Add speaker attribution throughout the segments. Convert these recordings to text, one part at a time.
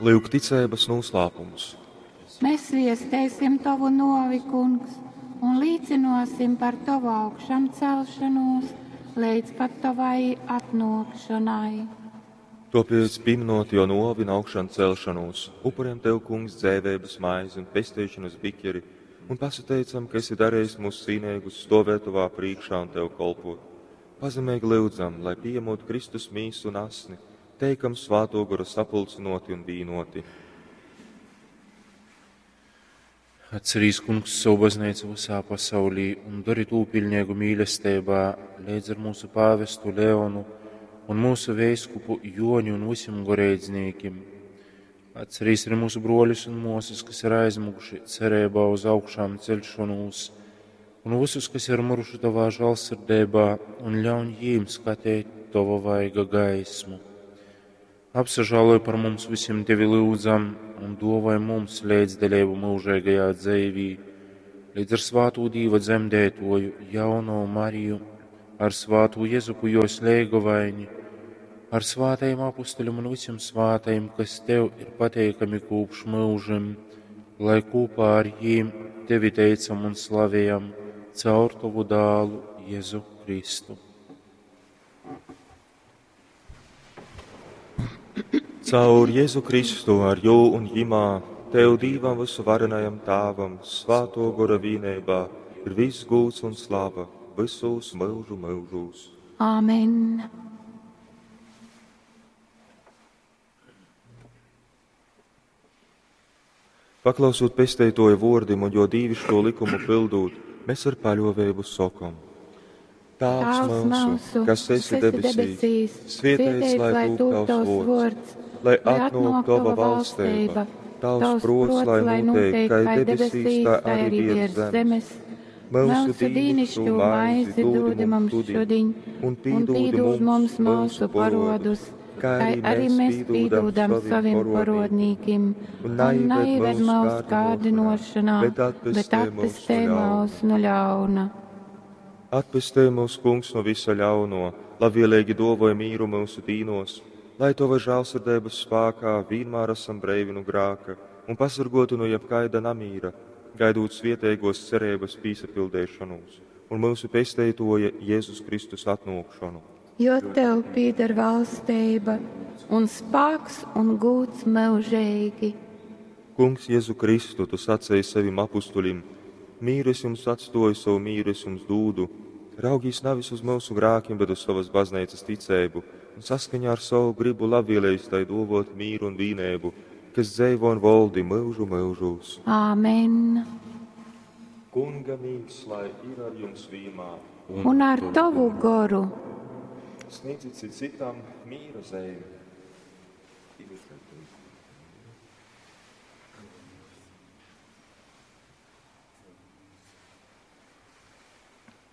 Speaker 1: Lyuk ticeibas nūslāpums.
Speaker 2: Mēs viesteisim tovu novi, Kungs, un līcinosim par tovu augšamcelšanos līdz pat tavai atnākšanai.
Speaker 1: Topēc, pieminot jo novi un augšanu celšanos, upuriem Tev, Kungs, dzēvēbas maizi un pestīšanas bikeri, un pasateicam, ka esi darījis mūs cīnīgus stovēt Tavā priekšā un Tev kolpot. Pazemīgi lūdzam, lai pieņemot Kristus mīsu un asni, teikam svāto goru sapulcinoti un vīnoti.
Speaker 3: Atcerīs, Kungs, savu baznīcu visā pasaulī un dari tū pilnīgu mīlestībā līdz ar mūsu pāvestu Leonu un mūsu veiskupu Joni un visiem goreidzniekiem. Atcerīs arī mūsu broļus un mūsas, kas ir aizmuguši cerībā uz augšām celšanos, un visus, kas ir muruši tavā žālsirdībā, un ļauj jīm skatīt tava vaiga gaismu. Apsažāloj par mums visiem tevi lūdzam un dovai mums līdzdalību mūžīgajā dzīvī, līdz ar svātū Dīva dzemdētoju jauno Mariju, ar svātū Jezupu jos leigovaini, ar svātajiem apustuļiem un visiem svātajiem, kas tev ir pateikami kopš mūžim, lai kopā ar jīm tevi teicam un slavējam caur tavu dālu Jēzu Kristu.
Speaker 1: Caur Jēzu Kristu, ar jū un jimā, Tev Dīvam visu varenajam Tāvam, svāto gora vīnībā, ir viss gūts un slava visos mūžu mūžos.
Speaker 2: Āmen!
Speaker 1: Paklausot pesteitoja vordim un jo dīvišķo likumu pildūt, mēs ar paļovēbu sokom. Tāvs mūsu, kas esi debesīs, svietēts lai tūp tavs vords, lai atnāk tava valstība, tavs prots, lai notiek, kā debesīs, tā arī virs zemes. Mūsu
Speaker 2: dīnišķo maizi dod mums šodien,
Speaker 1: un
Speaker 2: un pīdod mums mūsu parodus, kā arī mēs pīdodam saviem parodnīkim,
Speaker 1: un
Speaker 2: un neieved mūsu kārdinošanā, bet atpestē mūs no ļauna.
Speaker 1: Atpestē mūs, Kungs, no visa ļauno, labvēlīgi dovoj mīru mūsu dīnos, lai Tava žēlsirdības spēkā vienmēr esam breivi no grāka un pasargotu no jebkaida namīra, gaidot svietēgos cerības pīsapildēšanos un mūsu pesteitoja Jēzus Kristus atnākšanu.
Speaker 2: Jo tev pieder valstība un spēks un gūts mūžīgi.
Speaker 1: Kungs, Jēzu Kristu, tu sacēji savim apustuļim, mīru es jums atstoju, savu mīru es jums dūdu. Raugīs nevis uz mūsu grākiem, bet uz savas baznīcas ticēbu, un saskaņā ar savu gribu labvēlējis tai dovot mīru un vīnēbu, kas dzeivo un voldi mūžu mūžūs.
Speaker 2: Āmen!
Speaker 1: Kunga mīgs, lai ir ar jums vienmēr.
Speaker 2: Un ar tavu goru!
Speaker 1: Sniedzit cits citam mīra zīmi.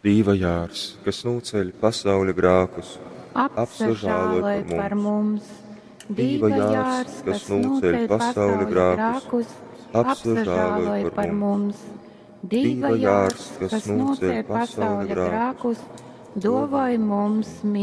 Speaker 1: Dīva jārs, kas nūceļ pasauļa grākus,
Speaker 2: Apsažāloj par mums!
Speaker 1: Dīva jārs, kas nūceļ pasauļa grākus,
Speaker 2: apsažāloj par mums! Dīva jārs, kas nūceļ pasauļa grākus, dovoj mums mieru!